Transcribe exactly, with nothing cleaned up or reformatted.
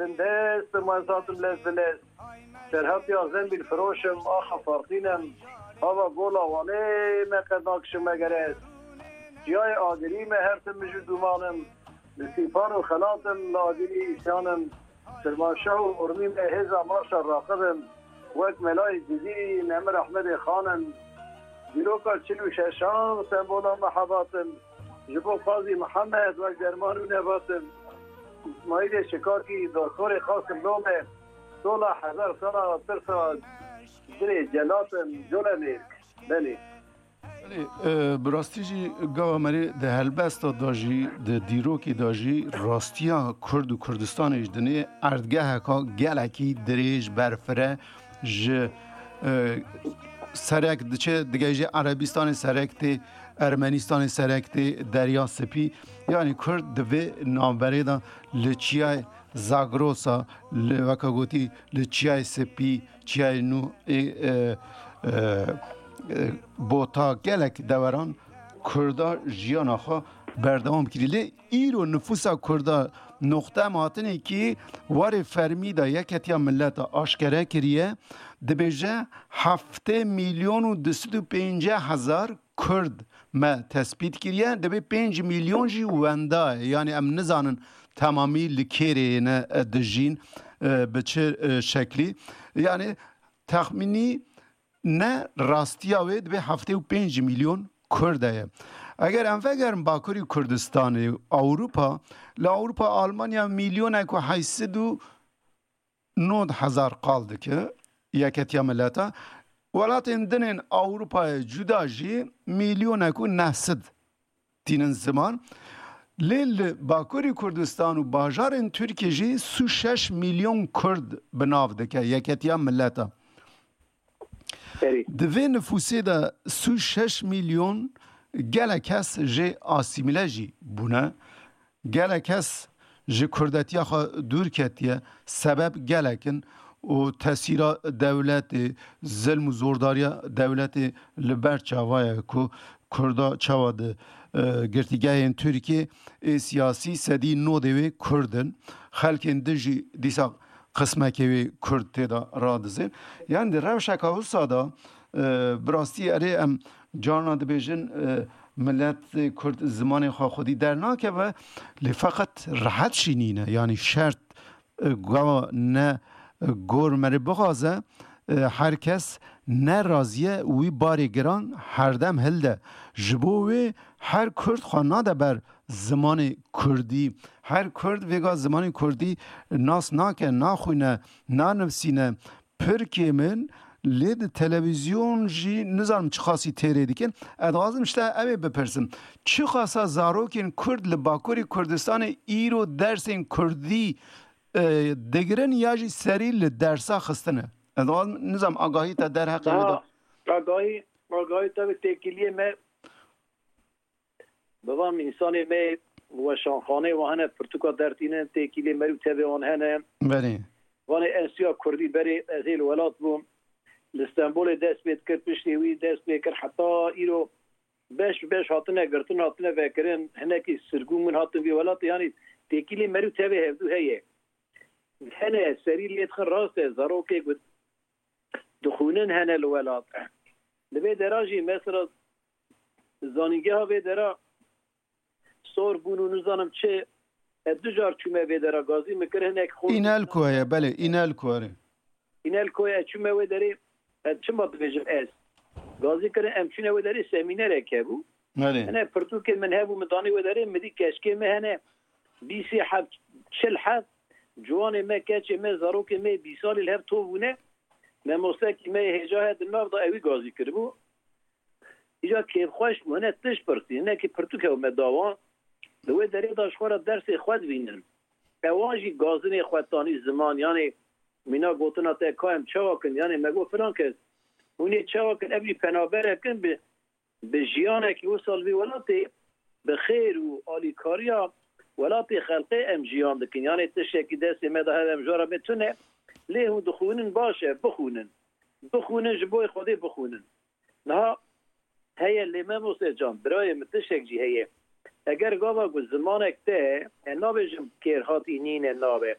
Bin dest, ma ez hatim lez bi lez. Serhatiya zembîl firoşim, axa farqînim. Hava gola Wanê me qed nakişim megerez. Çiyayê Agirî me her tim mij û dûmanim. Li Sîpan û Xelatim, li Agirî îsyanim. Kirmanşah û Urmî me hêza marşa raqibim. Wek melayê Cizîrî, Nemir Ehmedê Xanim. Dîroka çil û şeşan, sembola mehebatim. Ji bo Qazî Mihemed wek derman û nebatim. Îsmaîlê Şikakî, Doktorê Qasim Lome. Sola hezar sala tirsa dilê celatim, Colemêrg. Belê. Belê, e, bi rastî jî gava merê di helbesta de jî, di dîrokê de jî rastiya Kurd û Kurdistanê ji dinê erdgeheka gelekî dirêj berfire ji, e, serek diçe, digehîje Erebîstanê, serek tê Ermenistanê, serek tê Derya Spî. Yanî Kurd di vê navberê de li çiyayê Zagrosa, li, weke gotî, li Çiyayê Spî, Çiyayê Nû, ê, e, e, e, Bota, gelek deweran Kurda jiyana xwe berdewam kiriye. Lê îro nifûsa Kurda noqte em hatinê kî warê fermî de Yeketiya Mileta aşkere kiriye, dibêje heftê milyon û du sed û pêncî hezar Kurd me tespît kiriye, dibê pênc milyon jî wenda ye. Yanî em nizanin temamî li kêrê ne, e, dijîn, e, bi çi, e, şeklî. Yanî texmînî ne rastiya wê dibê heftê û pênc milyon Kurd heye. Eger em vegerin Bakurî Kurdistanê, Ewropa, li Ewropa Almanya milyonek û heyşt sed û nod hezar qal dike, Yeketiya Mileta. Welatên din ên Ewropayê cuda jî milyonek û neh sed tînin ziman. Lê li Bakurî Kurdistan û bajarên Tirkiyê jî sî û şeş milyon Kurd bi nav dike Yeketiya Mileta. Serî. Di vê nifûsê de sî û şeş milyon gelek kes jê asîmîle jî bûne. Gelek kes ji kurdetiya xwe dûr ketiye. Sebeb gelek in û tesîra dewletê, zilm û zordariya dewletê li ber çava ye ku Kurda çawa di, e, girtîgehên Tirkiyê ê siyasî sedî nodê wê Kurd in. Xelkên din jî dîsa qismekê wê Kurd tê de radizên. Yanî di rewşeka wisa de, e, bi rastî erê em carna dibêjin, e, miletê Kurd zimanê xwe xwedî dernakeve, lê feqet rehet jî nîne. Yanî şert, e, gava ne, e, gor merê bixwaze, e, her kes ne razî ye wî barê giran herdem hilde. Ji bo wê her Kurd xwe nade ber zimanê Kurdî. Her Kurd vêga zimanê Kurdî nas nake, naxwîne, nanivsîne. Pir kêm in, lê di televîzyon jî nizanim çiqasî têrê dikin. Ez dixwazim ji te ew ê bipirsim. Çiqasa zarokên Kurd li Bakurê Kurdistanê îro dersên Kurdî, e, digirin ya jî serî li dersa xistine? Ez dixwazim, nizanim agahî te derheqê wê de. Daha agahî, agahî te bi têkiliyê me Bi van însanê me weşanxaneyê wan hene, pirtûka dertînin, têkilê mer û tevê wan hene. Belê. Vanê ez çûya Kurdî berê, ez hê li welat bûm. Li Stenbolê dest pê dikir, piştî wî dest pê kir heta îro beş bi beş hatine girtin, hatine vekirin. Hinekî sirgûn bûn, hatin vî welatê, yanî têkilê mer û tevê hevdû heye. Hene serî lê dixin, rast e, zarokê ku dixwînin hene li welat. Li vê dera jî mesela zanîngeha vê dera sor bûn û nizanim çi, ez du car çûme vê dera, gazî min kir hinek xort. Înelko ye, belê, Înelko, erê. Înelko ye, ez çûme wê derê, ez çima dibêjim ez? Gazî kirin, em çûne wê derê, semînerek hebû. Erê. Hene pirtûkên min hebû, min danî wê derê, min dî keçikê me hene, bîsê heb, çil heb, ciwanê me, keçê me, zarokê me, bîsalî li hev tov bûne. Memostekî me yê hêja he di nav de, ewî gazî kiribû. Îca kêfxweş bû, hine tişt pirsî, hinekî pirtûk hebû me da wan. Li wê derê de ji xwe re dersê xwe dibînin. Ewan jî gazinê xwe tanî ziman, yanê mîna gotina te ka em çawa kin, yanê me got filan kes, hûn ê çawa kin, ev jî penaberek in bi, bi jiyanekî wisa li vî welatê, bi xêr û alîkariya welatê xelkê em jiyan dikin. Yanê tiştekî destê me de hebe em ji we re bê tune, lê hûn dixwînin, baş e, bixwînin. Bixwînin, ji bo Xwedê bixwînin. Niha heye lê, Memoste can, birayê min, tiştek jî heye. Eger gava ku zimanek te, e, nabêjim kêrhatî nîne, nabe.